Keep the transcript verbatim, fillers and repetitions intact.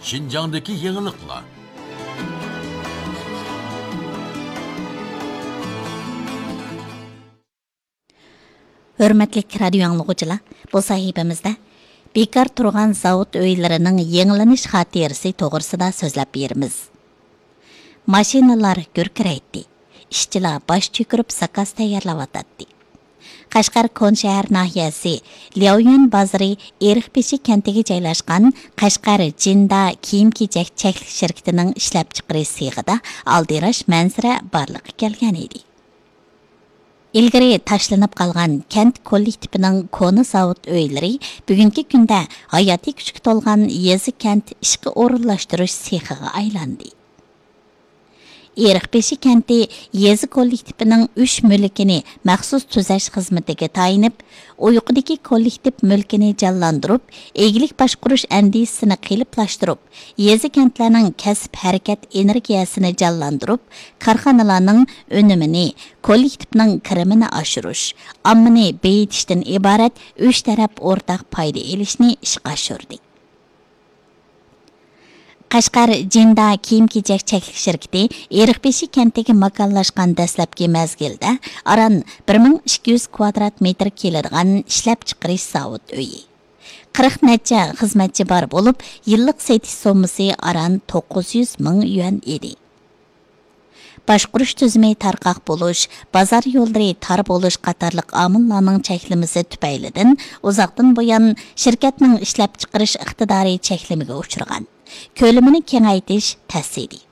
شىنجاڭدىكى يېڭىلىقلار. ھۆرمەتلىك رادىيو ئاڭلىغۇچىلار، بۇ سەھىپىمىزدە بىكار تۇرغان زاۋۇت ئۆيلىرىنىڭ يېڭىلىنىش خاتىرىسى توغرىسىدا سۆزلەپ بېرىمىز. ماشىنىلار گۈركىرەيتتى، ئىشچىلار باش چۆكۈرۈپ زاكاز تەييارلاۋاتاتتى. قەشقەر كونا شەھەر ناھىيەسى لياۋيۈەن بازىرى ئېرىقبېشى كەنتىگە جايلاشقان قەشقەر جىندا كىيىم-كېچەك چەكلىك شىركىتىنىڭ ئىشلەپچىقىرىش سېخىدا ئالدىراش مەنزىرە بارلىققا كەلگەن ئىدى. ئىلگىرى تاشلىنىپ قالغان كەنت كوللېكتىپىنىڭ كونا زاۋۇت ئۆيلىرى بۈگۈنكى كۈندە ھاياتىي كۈچكە تولغان يېزا كەنت ئىشقا ئورۇنلاشتۇرۇش سېخىغا ئايلاندى. ئېرىقبېشى كەنتى يېزا كوللېكتىپىنىڭ ئۈچ مۈلكىنى مەخسۇس تۈزەش خىزمىتىگە تايىنىپ، ئۇيقۇدىكى كوللېكتىپ مۈلكىنى جانلاندۇرۇپ، ئىگىلىك باشقۇرۇش ئەندىزىسىنى قېلىپلاشتۇرۇپ، يېزا كەنتلەرنىڭ كەسىپ ھەرىكەت ئېنېرگىيەسىنى جانلاندۇرۇپ، كارخانىلارنىڭ ئۈنۈمىنى، كوللېكتىپنىڭ كىرىمىنى ئاشۇرۇش، ئاممىنى بېيىتىشتىن ئىبارەت ئۈچ تەرەپ ئورتاق پايدا ئېلىشنى ئىشقا ئاشۇردى. قەشقەر جىندا كىيىم-كېچەك چەكلىك شىركىتى ئېرىقبېشى كەنتىگە ماكانلاشقان دەسلەپكى مەزگىلدە ئاران بىر مىڭ ئىككى يۈز كۋادرات مېتىر كېلىدىغان ئىشلەپچىقىرىش زاۋۇت ئۆيى. قىرىق نەچچە خىزمەتچى بار بولۇپ، يىللىق سېتىش سوممىسى ئاران توققۇز يۈز مىڭ يۈەن ئىدى. باشقۇرۇش تۈزۈمى تارقاق بولۇش، بازار يوللىرى تار بولۇش قاتارلىق ئامىللارنىڭ چەكلىمىسى تۈپەيلىدىن ئۇزاقتىن بۇيان شىركەتنىڭ ئىشلەپچىقىرىش ئىقتىدارى چەكلىمىگە ئۇچرىغان. كۆلىمىنى كېڭەيتىش تەس ئىدى.